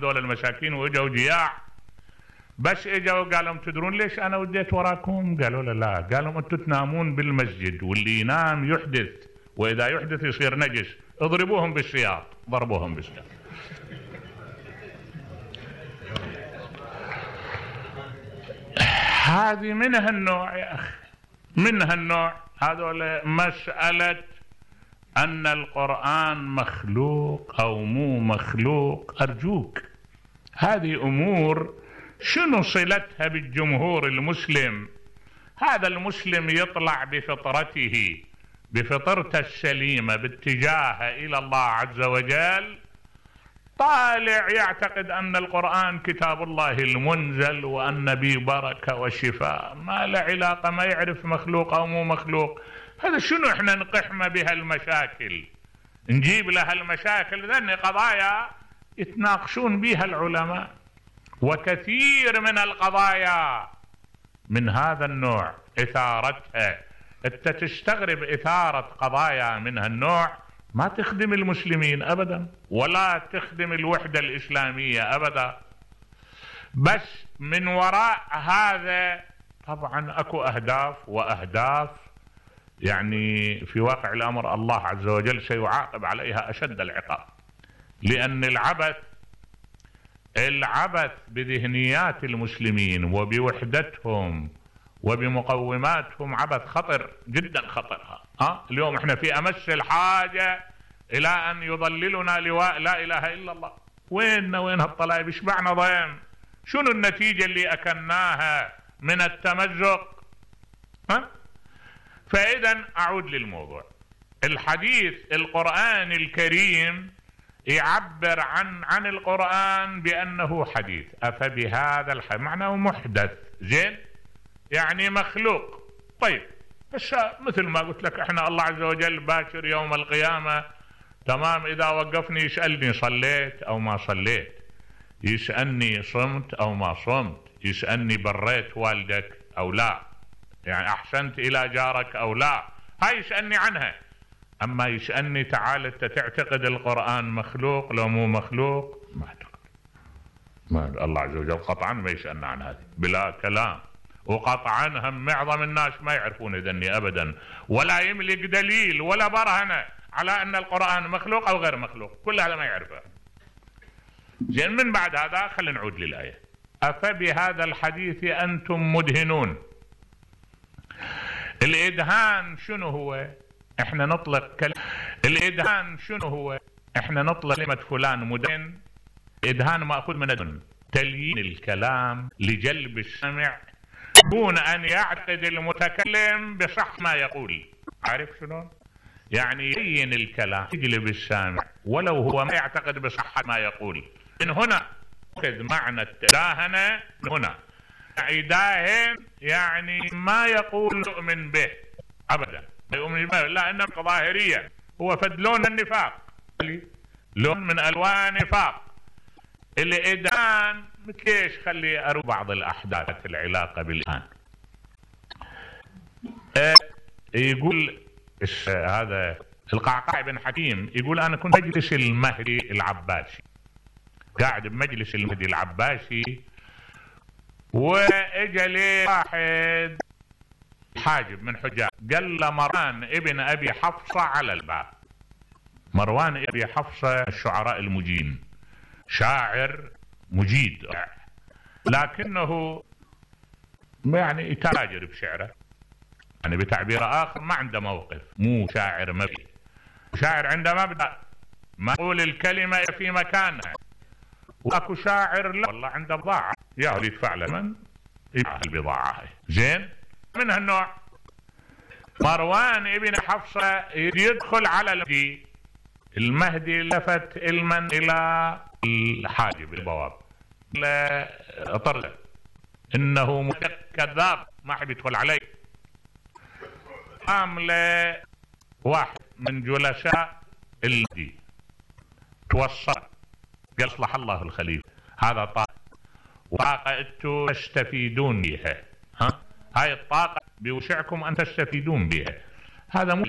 دول المساكين واجوا جياع، بس اجوا قالوا تدرون ليش انا وديت وراكم؟ قالوا لا، قالوا انتم تنامون بالمسجد واللي ينام يحدث، واذا يحدث يصير نجس، اضربوهم بالسياط. ضربوهم بالسياط. هذه منها النوع يا اخي، منها النوع. هذول مسألة ان القرآن مخلوق او مو مخلوق، ارجوك هذه امور شنو صلتها بالجمهور المسلم؟ هذا المسلم يطلع بفطرته، بفطرته السليمة باتجاهه الى الله عز وجل، طالع يعتقد ان القرآن كتاب الله المنزل وان به بركة وشفاء، ما له علاقة، ما يعرف مخلوق او مو مخلوق. هذا شنو احنا نقحمه بها المشاكل، نجيب لها المشاكل، ذني قضايا يتناقشون بها العلماء. وكثير من القضايا من هذا النوع اثارتها، انت تستغرب اثارة قضايا من هالنوع ما تخدم المسلمين ابدا ولا تخدم الوحدة الاسلامية ابدا. بس من وراء هذا طبعا اكو اهداف يعني في واقع الامر الله عز وجل سيعاقب عليها اشد العقاب، لان العبث بذهنيات المسلمين وبوحدتهم وبمقوماتهم عبث خطر جدا خطر. اليوم احنا في امس الحاجة الى ان يضللنا لواء لا اله الا الله. وين هالطلائب؟ اشبعنا ضيم؟ شنو النتيجة اللي اكلناها من التمزق؟ فاذا اعود للموضوع. الحديث القرآن الكريم يعبر عن القرآن بأنه حديث. أفبهذا الحديث معناه محدث، زين، يعني مخلوق. طيب بس مثل ما قلت لك احنا الله عز وجل باكر يوم القيامة، تمام، إذا وقفني يسألني صليت أو ما صليت، يسألني صمت أو ما صمت، يسألني بريت والدك أو لا، يعني أحسنت إلى جارك أو لا، هاي يسألني عنها. أما يسألني تعال أنت تعتقد القرآن مخلوق لو مو مخلوق؟ ما أعتقد. ما الله عز وجل قطعا ما يسألنا عن هذه بلا كلام، وقطعا هم معظم الناس ما يعرفون ذني أبدا، ولا يملك دليل ولا برهنة على أن القرآن مخلوق أو غير مخلوق، كل هذا ما يعرفه. زين، من بعد هذا خلينا نعود للآية. أفبهذا الحديث أنتم مدهنون. الإدهان شنو هو؟ احنا نطلق الإدهان شنو هو؟ احنا نطلق كلمة فلان مدهن. إدهان مأخوذ من الدهن، تليين الكلام لجلب السمع دون أن يعتقد المتكلم بصح ما يقول. عارف شنو؟ يعني يلين الكلام يجلب السامع ولو هو ما يعتقد بصحة ما يقول. من هنا أخذ معنى التداهنة. من هنا يداهن يعني ما يقول يؤمن به أبدا، يؤمن به، لا، إنما ظاهرية، هو فد لون النفاق، لون من ألوان النفاق. الإدهان مثليش؟ خلي أروي بعض الأحداث العلاقة بالإدهان. يقول هذا القعقاع بن حكيم، يقول أنا كنت مجلس المهدي العباسي، قاعد بمجلس المهدي العباسي، واجا لي واحد حاجب من حجاج، قال له مروان ابن ابي حفصة على الباب. مروان ابي حفصة الشعراء المجيدين، شاعر مجيد، لكنه يعني يتاجر بشعره، يعني بتعبير اخر ما عنده موقف، مو شاعر مبدأ، شاعر عنده مبدأ، ما يقول الكلمة في مكانها. واكو شاعر لا والله عنده بضاعة، يا يدفع له من يبيع البضاعة هاي. زين، من هالنوع. مروان ابن حفصة يدخل على المهدي لفت المن الى الحاجب البواب، لا طرد انه كذاب ما حد يدخل عليه. قام له واحد من جلساء المهدي توصل، قال اصلح الله الخليفة، هذا طاقة وطاقة انتم تستفيدون بها، هاي الطاقة بوسعكم ان تستفيدون بها، هذا مو